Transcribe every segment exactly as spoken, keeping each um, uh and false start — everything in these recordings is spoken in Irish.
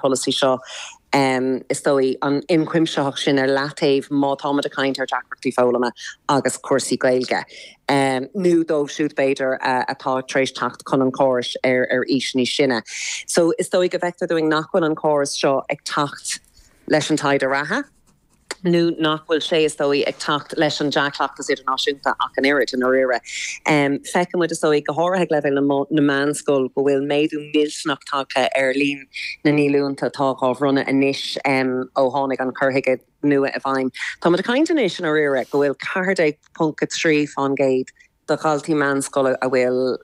polasaí seo um, is dóigh an ionchuimsitheacht sin ar leataobh má táimid ag caint ar deacrachtaí foghlama agus cúrsaí Gaeilge. Um, nó dóibh siúd b'fhéidir uh, atá tar éis teacht chun an chórais ar ar aois níos sine. So is dóigh go bhfeictear dúinn nach bhfuil an córas seo ag teacht leis an taighde reatha. nó nach bhfuil sé is dóigh ag teacht leis an dea-chleachtas idirnáisiúnta ach an oiread in oiread. Um, Feicimid is dóigh go háirithe leibhéal na meánscoil go bhfuil méadú millteanach tagtha ar líon na ndíolúintí atá á mbronnadh anois um, ó tháinig an cur chuige nua i bhfeidhm. Tá a caint anois in oiread go bhfuil ceathair ponc trí faoin gcéad de dhaltaí meánscoile a bhfuil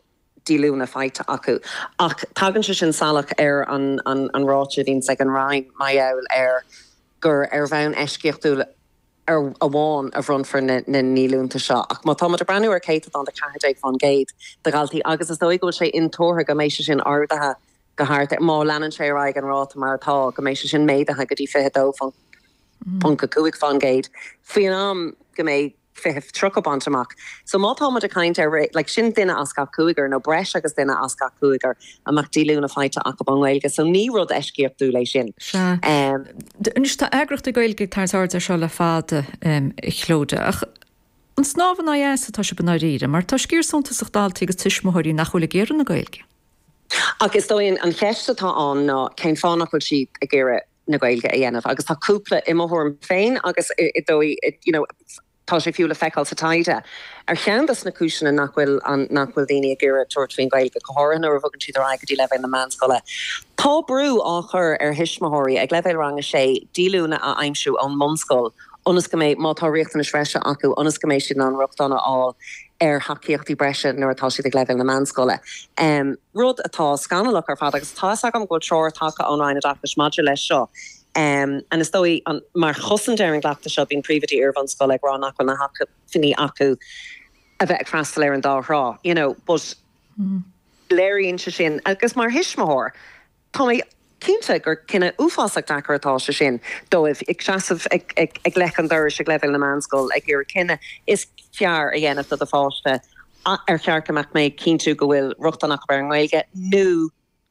díolúine faighte acu. Ach tagann sé sin salach ar an, an, an ráiteas a bhíonn ag an Roinn mar gheall ar gur ar bhonn eisceachtúil ar amháin a bhronnfar na, na ndíolúintí seo. Ach má tá ag breathnú ar céatadán de ceathair déag faoin gcéad de dhaltaí agus is dóigh go bhfuil sé intuartha go mbeidh sé sin ardaithe go thart má leanann sé ar aghaidh an ráta mar atá go mbeidh sé sin méadaithe go dtí fiche dó ponc a cúig faoin gcéad. Faoin am go mbeidh fiche tríocha bainte amach. So má tá ag caint ar like, sin duine as gach cúigear nó breis agus duine as gach cúigear a mbeadh díolúine faighte acu ón nGaeilge, so ní rud eisceachtúil é sin. Um, Anois tá eagraíochtaí Gaeilge ag tarraingt aird air seo le fada um, Clodagh. Ach an snámh in aghaidh easa atá sibh i ndáiríre, mar tá sciar suntasach daltaí agus tuismitheoirí nach bhfuil ag iarraidh na Gaeilge. Ach is dóigh an cheist atá ann ná cén fáth nach bhfuil siad ag iarraidh na Gaeilge a dhéanamh, agus tá cúpla i mo thuairim féin agus i dóigh you know, tá sé fiú le feiceáil sa taighde. Ar cheann des na cúiseanna nach bhfuil nach bhfuil daoine ag iarraidh tabhairt faoin Ghaeilge go háirithe nuair a bhogann siad ar aghaidh go dtí leibhéal na meánscoile. Tá brú á chur ar thuismitheoirí ag leibhéal rang a sé díolúine a aimsiú ón mbunscoil ionas go mbeidh má tá riachtanais bhreise acu ionas go mbeidh siad in ann rochtain a fháil ar thacaíochtaí breise nuair atá siad ag leibhéal na meánscoile. Um, rud atá scannalach ar fad agus tá agam go treoir tagtha ón Roinn Oideachais maidir leis seo. Um, and is dóigh an, mar chosaint ar an gcleachtadh seo bíonn príomhoidí iar-bhunscoile ag rá nach bhfuil na hacmhainní acu a bheith ag freastal ar an dá thrá, you know, but mm. léiríonn sé sin agus mar thuismitheoir Tá mé cinnte gur cinneadh uafásach deacair atá sé sin dóibh ag seasamh ag, ag, ag leic an dorais ag leibhéal na meánscoil ag iarraidh cinneadh is fearr a dhéanamh do do pháiste ar cheart go mbeadh mé cinntiú go bhfuil rochtain acu ar an nGaeilge nó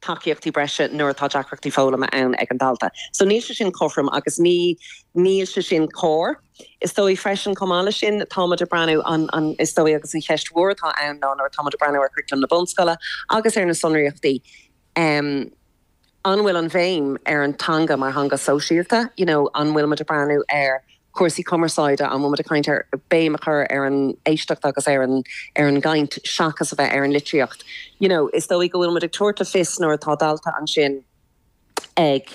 tacaíochtaí breise nuair atá deacrachtaí foghlama ann ag an dalta. So níl sé sin cothrom agus ní níl sé sin cóir. Is dóigh freisin chomh maith leis sin táimid ag breathnú an, an is dóigh agus an cheist mhór atá ann ná nuair táimid ag breathnú ar churaclam na bunscoile agus ar na sonraíochtaí. Um, an bhfuil an bhéim ar an teanga mar theanga sóisialta, you know, an bhfuil muid ag breathnú ar cúrsaí cumarsáide an bhfuil muid ag caint ar béim a chur ar an éisteacht agus ar an ar an gcaint seachas a bheith ar an litríocht. You know, is dóigh go bhfuil muid ag tabhairt le fios nuair atá dalta ansin ag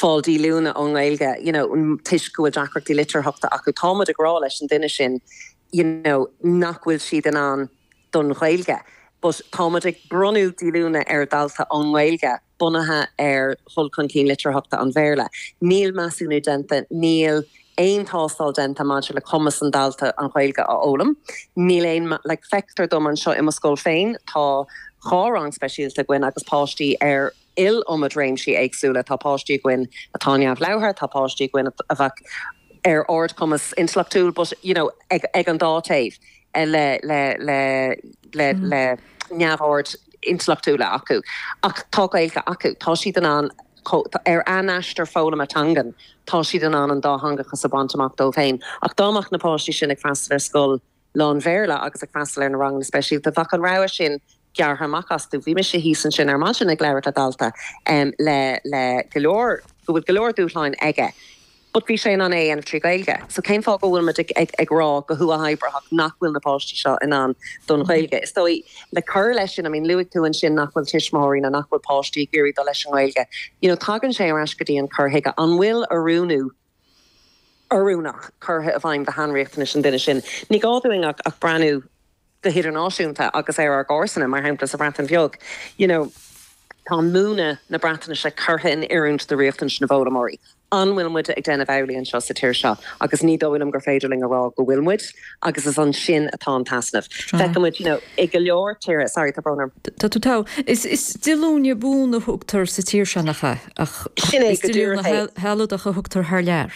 fáil díolúine ón nGaeilge, you know, toisc go bhfuil deacrachtaí litearthachta acu táimid ag rá leis an duine sin, you know, nach bhfuil siad in ann don Ghaeilge. But táimid ag bronnadh díolúine ar dalta ón nGaeilge bunaithe ar dhul chun cinn litearthachta an Bhéarla. Níl measúnú déanta, níl aon tástáil déanta maidir le cumas an dalta an Ghaeilge a fhoghlaim. Níl aon le feictear dom anseo i mo scoil féin tá dhá rang speisialta againn agus páistí ar iliomad réimsí éagsúla tá páistí againn atá neamhlabhartha, tá páistí againn a bheadh ar ardchumas intleachtúil, but you know, ag, ag an dá taobh le le le le mm. le neamhord intleachtúla acu. Ach tá Gaeilge acu, tá siad in ann ar a n-aistear foghlama teangan, tá siad in ann an dátheangachas a bhaint amach dóibh féin. Ach dá mbeadh na páistí sin ag freastal ar scoil lán-Bhéarla agus ag freastal ar na ranganna speisialta bheadh an rogha sin gearrtha amach astu. Bhí mise thíos ansin ar maidin ag labhairt le dalta um, le le go leor go bhfuil go leor dúshláin aige. But bhí sé in ann é a dhéanamh trí Ghaeilge. So cén fáth go bhfuil muid ag, ag, ag rá go huathoibríoch nach bhfuil na páistí seo in ann don Ghaeilge. Is dóigh le cur leis sin I mean luaigh tú ansin nach bhfuil tuismitheoirí na nach bhfuil páistí ag iarraidh dul leis an nGaeilge. You know, tagann sé ar ais go dtí an cur chuige an bhfuil oiriúnú oiriúnach curtha i bhfeidhm do shainriachtanais an duine sin. Ní gá dúinn ach, ach breathnú go hidirnáisiúnta agus ar ár gcomharsana mar shampla sa Bhreatain Bheag. You know, tá múineadh na Breatnaise curtha in oiriúint do riachtanais na bhfoghlaimeoirí. An bhfuil muid ag déanamh amhlaidh anseo sa tír seo, agus ní dóigh liom gur féidir linn a rá go bhfuil muid, agus is ansin atá an t-easnamh. Feicimid you know, i go leor tíortha sorry tá brón orm. Tá tú tá is is díolúine buan a thugtar sa tír seo nach ea ach Sin é is go díolúine díreach é. shealadach a thugtar thar lear.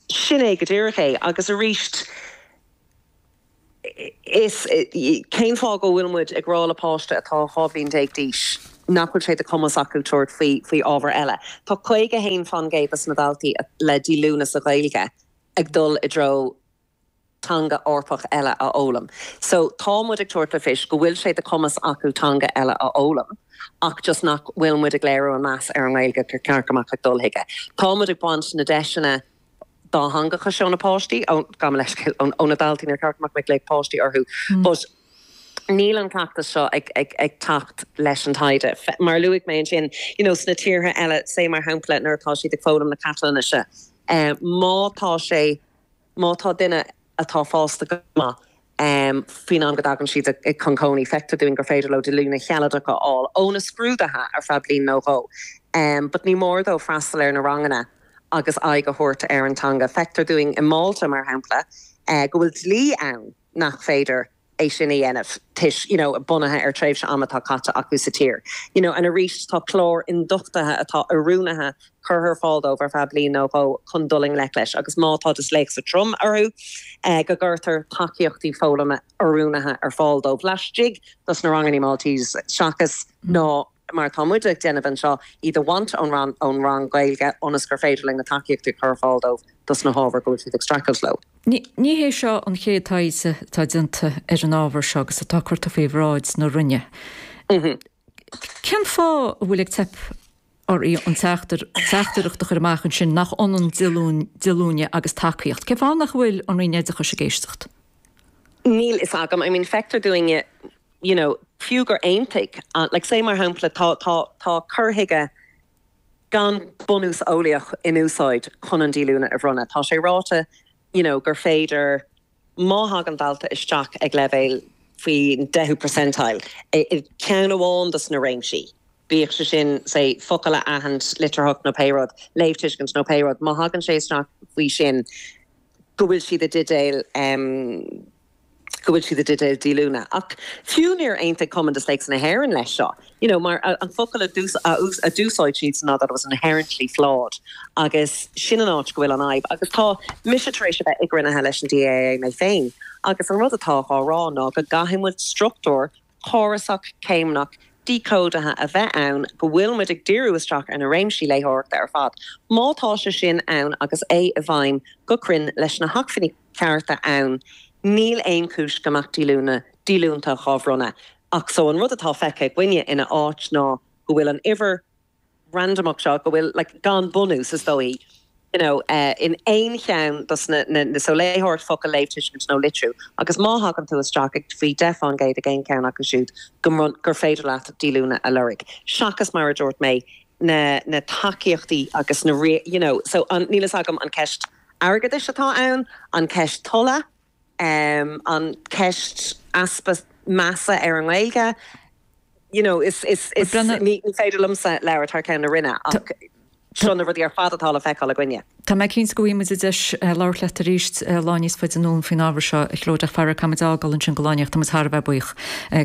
Sin é go díreach é agus arís is cén fáth go bhfuil muid ag rá le páiste atá dhá bhliain déag d'aois nach bhfuil sé de chumas acu tabhairt faoi faoi ábhar eile. Tá caoga a haon faoin gcéad des na daltaí le díolúine sa Ghaeilge ag dul i dtreo teanga Eorpach eile a fhoghlaim. So tá muid ag tabhairt le fios go bhfuil sé de chumas acu teanga eile a fhoghlaim, ach just nach bhfuil muid ag léiriú an meas ar an nGaeilge gur ceart go mbeadh ag dul chuige. Tá muid ag baint na deiseanna dátheangacha seo na páistí gabh mo leithscéal ó na daltaí níor cheart go mbeadh mé ag glaoch páistí orthu. But níl an cleachtas seo ag, ag, ag teacht leis an taighde. Mar a luaigh mé ansin, you know, sna tíortha eile, say mar shampla nuair atá siad ag foghlaim na Catalóinise, eh, má tá sé, má tá duine atá fásta go maith, um, faoin am go dtagann siad ag chun cónaí, feictear dúinn gur féidir leo díolúine shealadach a fháil ó na scrúduithe ar feadh bliain nó dhó. Um, but ní mór dóibh freastal ar na ranganna agus aghaidh a thabhairt ar an teanga. Feictear dúinn i Málta mar shampla uh, go bhfuil dlí ann nach féidir é sin a dhéanamh toisc you know, bunaithe ar tréimhse ama atá caite acu sa tír. You know, and arís tá clár ionduchtaithe atá oiriúnaithe curtha ar fáil dóibh ar feadh bliain nó dhó chun dul i ngleic leis, agus má tá disléicse trom orthu eh, go gcuirtear tacaíochtaí foghlama oiriúnaithe ar fáil dóibh laistigh dos na ranganna Maltese seachas ná mar tá muid ag déanamh anseo iad a bhaint ón rang ón rang Gaeilge ionas gur féidir linn na tacaíochtaí a chur ar fáil dóibh dos na hábhair go bhfuil siad ag streachailt leo. Ní ní hé seo an chéad taighde atá déanta ar an ábhar seo agus atá curtha faoi bhráid na Roinne. Cén fáth a bhfuil ag teip oraibh an teachtaireacht a chur amach ansin nach ionann díolúine agus tacaíocht. Cén fáth nach bhfuil an Roinn Oideachais ag éisteacht? Níl a fhios agam, I mean feictear dúinne you know, fiú gur aontaigh, uh, like say mar shampla tá tá tá cur chuige gan bunús eolaíoch in úsáid chun an díolúine a bhronnadh. Tá sé ráite you know, gur féidir má thagann dalta isteach ag leibhéal faoi deichiú percentile i ceann amháin dos na réimsí. Bíodh sé sin say focail a aithint litearthacht nó pé rud, léamhthuiscint nó pé rud, má thagann sé isteach faoi sin go bhfuil siad i dteideal um, go bhfuil siad i dteideal díolúine. Ach fiú níor aontaigh Cumann Disléicse na hÉireann leis seo. You know, mar an focal a d'úsáid siad ná that was inherently flawed. Agus sin an áit go bhfuil an fhadhb. Agus tá mise tar éis a bheith i gcruinnithe leis an DAA mé féin. Agus an rud atá á rá ná go gcaithfidh muid struchtúr córasach céimneach díchódaithe a bheith ann go bhfuil muid ag díriú isteach ar na réimsí léitheoireachta ar fad. Má tá sé sin ann agus é i bhfeidhm go cruinn leis na hacmhainní cearta ann, níl aon chúis go mbeadh díolúine díolúine á bhronnadh. Ach so an rud atá feicthe againne ina áit ná go bhfuil an uimhir randamach seo go bhfuil like, gan bunús is dóigh you know, uh, in aon cheann dos na, na, na so léitheoireacht focal léamhthuiscint nó litriú. Agus má thagann tú isteach ag faoi deich faoin gcéad ag aon cheann acu siúd go gur féidir leat díolúine a lorg. Seachas mar a dúirt mé na, na tacaíochtaí agus na you know, so an, níl a fhios agam an ceist airgeadais atá ann, an ceist tola, um, an ceist easpa measa ar an nGaeilge. You know, is, is, is, ní féidir liomsa labhairt thar ceann na Roinne ach seo na rudaí ar fad atá le feiceáil againne. Tá mé cinnte go bhfaighidh muid deis labhairt leat arís lá níos faide anonn faoin ábhar seo a Chlódach fara caimeáil ansin go láíocht tá thar bheith buíoch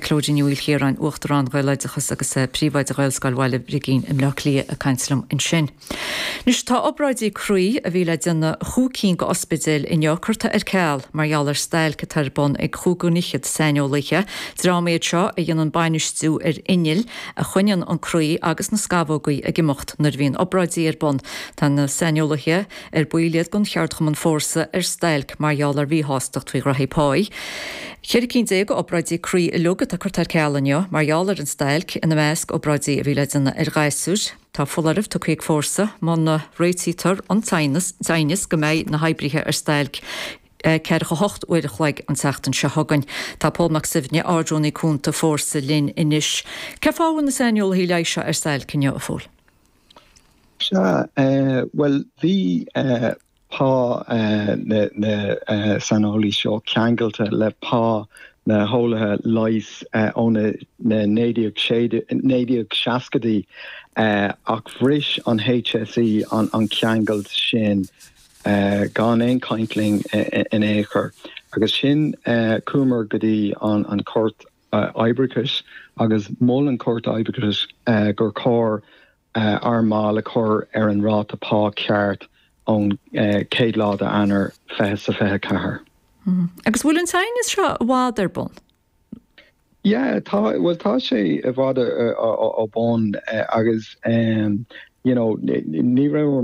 Clóidín Ní Mhaoilchiaráin Uachtarán Ghaeloideachas agus príomhoide Ghaelscoil Bhaile Brigín i mBleá Cliath ag caint liom ansin. Anois tá obráidí croí a bhí le déanamh chúig cinn d'ospidéil inniu curtha ar ceal mar gheall ar stailc atá ar bun ag chúig go fhichead saineolaithe, dream iad seo a dhéanann bainistiú ar innill a choinníonn an croí agus na scamhógaí ag imeacht nuair a bhíonn obráidí ar bun. Tá na saineolaithe ar baill iad den cheardchumann Fórsa ar stailc mar gheall ar mhíshástacht faoi ghraithí páí. Ceithre cinn déag obráidí croí uilig atá curtha ar ceal inniu mar gheall ar an stailc ina measc obráidí a bhí le déanamh ar ghasúir. Tá foláireamh tugtha ag Fórsa muna réitítear an t-aighneas go mbeidh na hoibrithe ar stailc ceathracha hocht uair a chloig an tseachtain seo chugainn. Tá Pól Mac Suibhne Ardrúnaí Cúnta Fórsa linn anois. Cén fáth a bhfuil na saineolaithe leighis seo ar stailc inniu a Phóil? Sea, bhuel bhí pá na na saineolaí seo ceangailte le pá na heolaithe leighis ó na naoi déag seascadaí ach bhris an HSE an an ceangal sin gan aon chaint linn in aon chor. Agus sin chuamar go dtí an an Chúirt Oibreachais agus mhol an Chúirt Oibreachais gur chóir ár mbaill a chur ar an ráta pá ceart ón chéad lá d'Eanáir fiche sa fiche ceathair. Agus bhfuil an t-aighneas seo i bhfad ar bun? Yeah, tá well tá sé i bhfad ó bun agus um, you know, ní raibh